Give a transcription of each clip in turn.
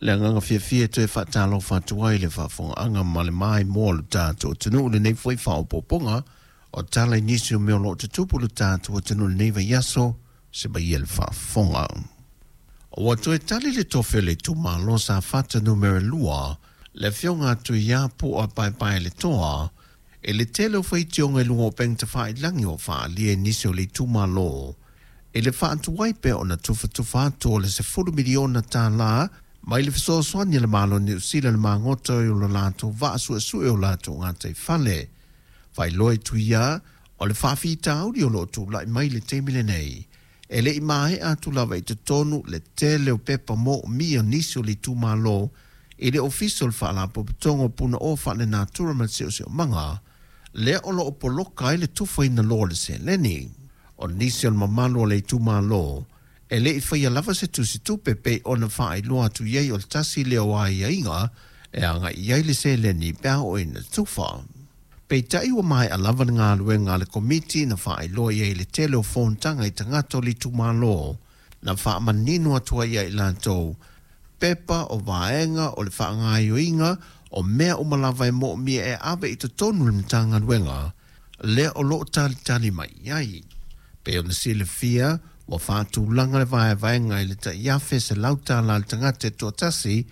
Le agaga fiafia e toe faatalofa atu ai i le faafofogaaga ma le maimoa o le tatou atunuu i lenei foi faaopoopoga o tala i nisi o mea o lo o tutupu i le tatou atunuu i lenei vaiaso. Se maia le faafofoga. Ua toe tali le tofi o le itumalo Safata Numera 2, le Afioga a Tuia Pu'a Paepaeletoa, i le tele o faitioga i luga o upega tafailagi ua faaalia e nisi o le itumalo i le faatuai pea ona tufatufa atu o le $10 miliona mai le fesoasoani a le Malo o Niu Sila i le magota o lo latou vaa suesue o latou gataifale. Faailoa e Tuia o le faafitauli o lo o tulai mai i le taimi lenei, e le i maea atu lava i totonu le tele o pepa moomia o nisi o le itumalo i le Ofisa o le Faalapotopotoga o Punaoa Faalenatura ma le Siosiomaga, lea o lo o poloka ai le tufaina loa o le seleni. O nisi o le mamalu o le itumalo e le i faia lava se tusitupe pei ona faailoa atu i ai o le tasi lea o aiaiga e agai i ai le seleni pe a oo ina tufa. Peitai ua maea lava le galuega a le Komiti na faailoa i ai le tele o fonotaga i tagata o le itumalo na faamanino atu ai ia i latou pepa o vaega o le faagaoioiga o mea uma lava e moomia e ave i totonu o le Matagaluega lea o lo o talitali mai i ai. Pei ona silafia, ua faatulaga le vaevaega i le tai $1,100 i le tagata e toatasi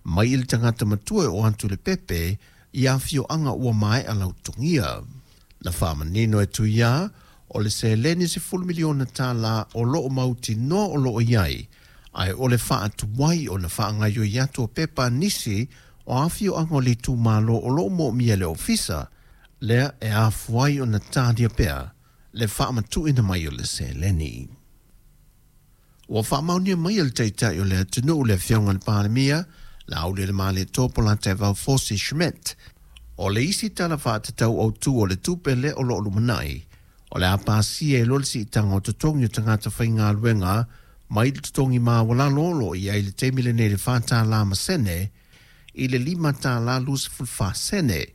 mai i le tagata matua e oo atu i le pepe i afioaga ua maea lautogia. Na faamanino e Tuia o le seleni $10 miliona o lo o mautinoa o lo o i ai, ae o le faatuai ona faagaoioi atu o pepa a nisi o afioaga o le itumalo o lo o moomia e le ofisa lea e afua ai ona talia pea le faamatuuina mai o le seleni. Ua faamaonia mai e le Taitai o le atunuu le Afioga i le Palemia, Laaulialemalietoa Polataivao Fosi Schmidt, o le isi Tala Faatatau Autu o le Tupe lea o lo o lumanai, o le a pasia ai loa le siitaga o totogi o tagata faigaluega mai le totogi maualalo o lo o i ai i le taimi lenei i le $4 ma sene i le $5.24 sene,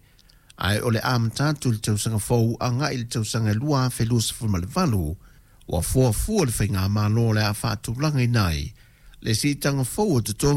ae o le amata atu i le tausaga fou agai i le tausaga e 2028, ua fuafua le Faigamalo o le a faatulagaina ai le siitaga fou o totogi.